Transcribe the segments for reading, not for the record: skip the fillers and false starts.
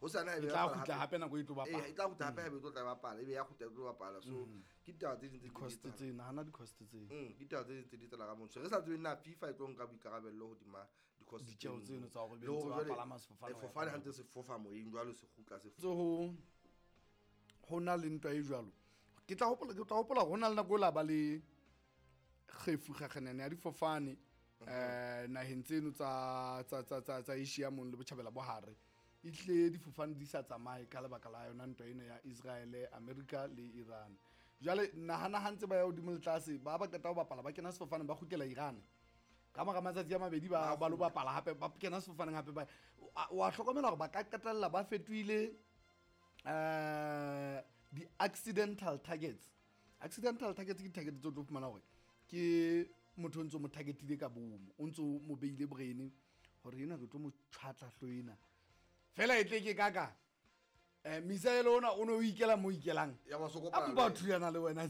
Ho sana E tla kgutla hape nako e tlo bapala. E tla kgutla hape hape e tlo tla bapala, ebe ya kgutla e tlo bapala. So ke ditaba tse ding tse Cost tse nahana di-cost tse. Ke ditaba tse ding tse di tsela ka montsho. Re sa tsebe na FIFA e tlo nka boikarabello hodima di-cost Ditjeo tseno tsa hore be Le ntse hore ba jwale, palama sefofane ho ya fofane ka ha ntse se fofa moyeng jwalo se kgutla se Tse ho na le ntwa e jwalo. Ke tla hopola ho na le nako e la ba le kgefu kgakganene ya difofane naheng tseno tsa Asia mong le botjhabela bo hare. E tle difofane di sa tsamaye ka lebaka la yona ntwa ena ya Israel, America le Iran. Jwale nahana ha ntse ba ya hodimo le tlase, ba qeta ho bapala, ba kena sefofane, ba kgutlela Iran. Ka mora matsatsi a mabedi ba lo bapala hape, ba kena sefofaneng hape, ba wa hlokomela hore ba ka qetella ba fetohile di-accidental targets. Accidental targets ke di-target tse o tlo fumana hore ke motho o ntso mo targetile ka bomo, o ntso mo beile brain hore ena re tlo mo tjhwatla hlo ena fela e tle ke kaka missile ona o ne o ikela mo ikelang, Ya ba so kopana a le mpa wena. thuyana le wena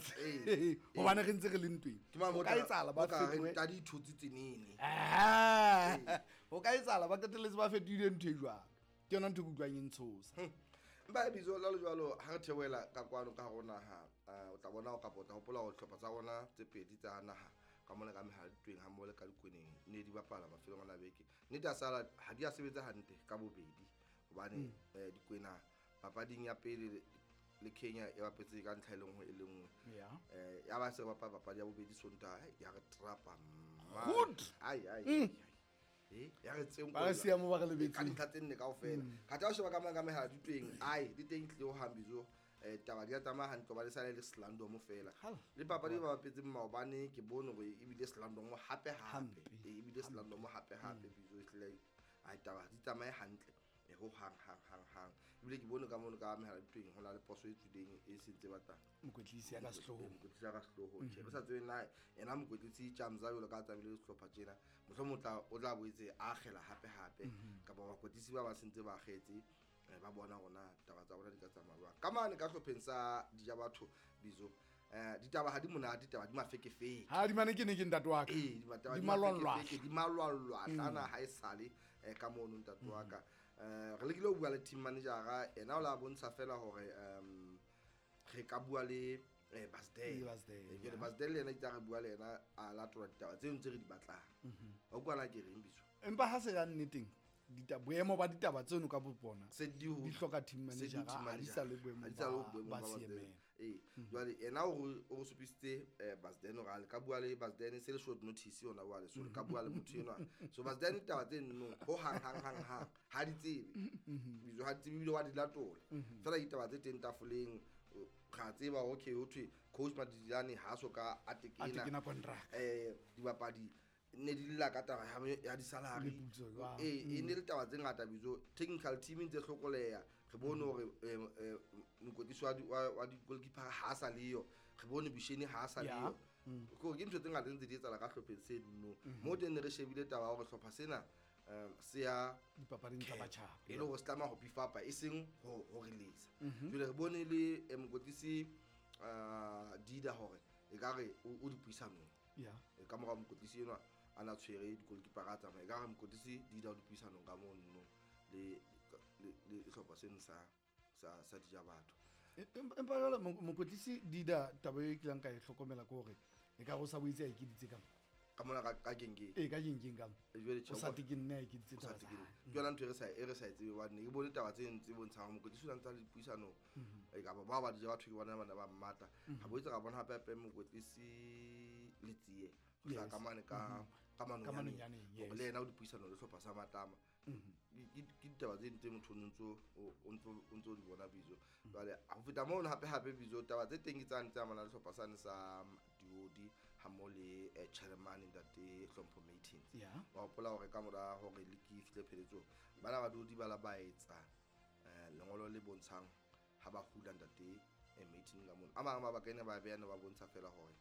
hobane re ntse re le ntweng. Ke mang Ho ka etsahala ba mo ka reng fetohe tadi ithotse tsenene. Ah, ho ka etsahala ba qetelletse ba fetohile ntho e jwalo. Ke yona ntho e ke utlwang e ntshosa. Mpa e bitso la le jwalo ha re theohela ka kwano ka hare ho naha, o tla bona kapa o tla hopola hore dihlopha tsa rona tse pedi tsa naha ka mona ka mehala ditweng ha mmoho le ka dikweneng ne di bapala mafelong a beke. Nnete a sala ha di a sebetsa hantle ka bobedi hobane dikwena papading ya pele le Kenya e bapetse ka ntlha e le nngwe e le nngwe. Ya ba se bapala papadi ya bobedi Sontaha, ya re trapa. Good. Ai ai ai. Ya re tse Ba re siya mo ba re ka lebetseng. dintlha tse nne kaofela. Kgatha o sheba ka mona ka mehala ditweng, ai di teng tlile ho hambizo. Taba di a tsamaya hantle hobane sale le slandomo fela. Hala. Le papadi e ba bapetseng maobane ke bone hore ebile slandomo hape hape. Hampe. Ebile slandomo hape hape bizo ehlile ai taba di tsamaye hantle. Ho hang hang hang hang. Ebile ke bone ka mono ka mehala ditweng ho na le poso e tswileng e sentse batla. Mokwetlisi ya ka sehloohong. Mokwetlisi ya ka sehloohong. Tjhe, re sa tsebe na ena mokwetlisi Tjamza jwalo ka a tsamaile le sehlopha tjena. Mohlomong o tla boetse a akgela hape hape. Kapa bakwetlisi ba sentse ba akgetse, ba bona hore na taba tsa bona di ka tsamaya jwang. Ka mane ka hlopheng sa Dijabatho bizo, ditaba ha di monate, ditaba di mafekefeke. Ha di mane ke ne ke ntate wa ka. Ee, ditaba Di di malwalwa. mafekefeke, di malwalwa tlana ha e sale ka mono ntate wa ka. Re lekile ho bua le team manager-a, ena o la bontsha fela hore re ka bua le Basdale. Le Basdale, Jwale Basdale le yena itse ha re bua le yena a latola ditaba tseno tse re di batlang. Wa utlwa na ke reng bizo? Empa ha se ya nneteng, boemo ba ditaba tseno ka bo bona Se di ho di hloka team se di manager, team ha di manager. sa le boemong Ha di sa le boemong ba ba Basdale. CMM. Ee, jwale yena o re supisitse Basdale hore a le ka bua le Basdale se le short notice yona jwale, so le ka bua le motho enwa. So Basdale ditaba tse nno ho hang hang hang hang ha di tsebe. Bizo ha di tsebe ebile wa di latola. Fela ditaba tse teng tafoleng ra tseba okay ho thwe coach Madidilane ha so ka a tekena. A tekena contract. Dibapadi ne di lla ka taba ya di-salary. Meputso jwang? Ee, e ne le taba tse ngata bizo. Technical team e ntse hlokoleha. Re bone hore mokwetlisi wa di-goalkeeper ha sa leyo. Re bone Busheni ha sa leyo. Ke hore ke ntho tse ngata ntse di etsahala ka hlopheng se nno. Mo teng ne re shebile taba ya hore hlopha sena se ya dipapading tsa batjhaba. E le hore se tlameha ho beef up-a e seng ho release. Jwale re bone le mokwetlisi Dida hore ekare o dipuisanong. Ka mora mokwetlisi enwa a na tshwere di-goalkeeper a tsamaya, ekare mokwetlisi Dida o dipuisanong ka mono le hlopha seno sa Dijabatho. Empa jwale mokwetlisi Dida taba e kileng ka e hlokomela ke hore e ka go sa boitse a ekeditse ka mo. Ka mona ka kenkeng. Ee, ka kenkeng ka mo. Jwale tjhe, O sa tekenne a ekeditse o sa taba tsa tekenne. hae. Ke yona ntho e re sa e tsebe hobane ke bone taba tse ntse bontshang hore mokwetlisi o na ntse a le dipuisanong. Kapa bao ba Dijabatho ke bona bana ba mmata. Ha boetse ra bona hape hape mokwetlisi Letsie ho hlaha ka mane ka Ka Manonyaneng. Manonyaneng, Hore yes. le yena o dipuisanong le hlopha sa Matlama. Ke ditaba tse ding tse motho o ntso di bona bizo. Jwale ho feta mono hape hape bizo taba tse teng ke tsane tse amanang le hlopha sane sa Diodi ha mmoho le chairman ntate Hlompho Matins. Wa hopola hore ka mora hore league e fihle pheletsong, bana ba Diodi ba la ba etsa lengolo le bontshang ha ba hula ntate Martin ka mono. A mang mabaka ene ba beha ne ba bontsha fela hore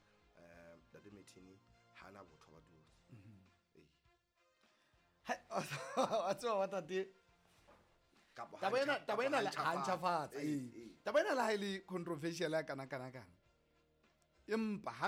ntate Martin ha ana botho ba Diodi. Ee. Hai, wa tseba wa tate. Kapa Taba ena, taba ena le ha ha ntjhafatsa, Ee, ee. ee. Taba ena le ha e le controversial ya kana kana kana. Empa ha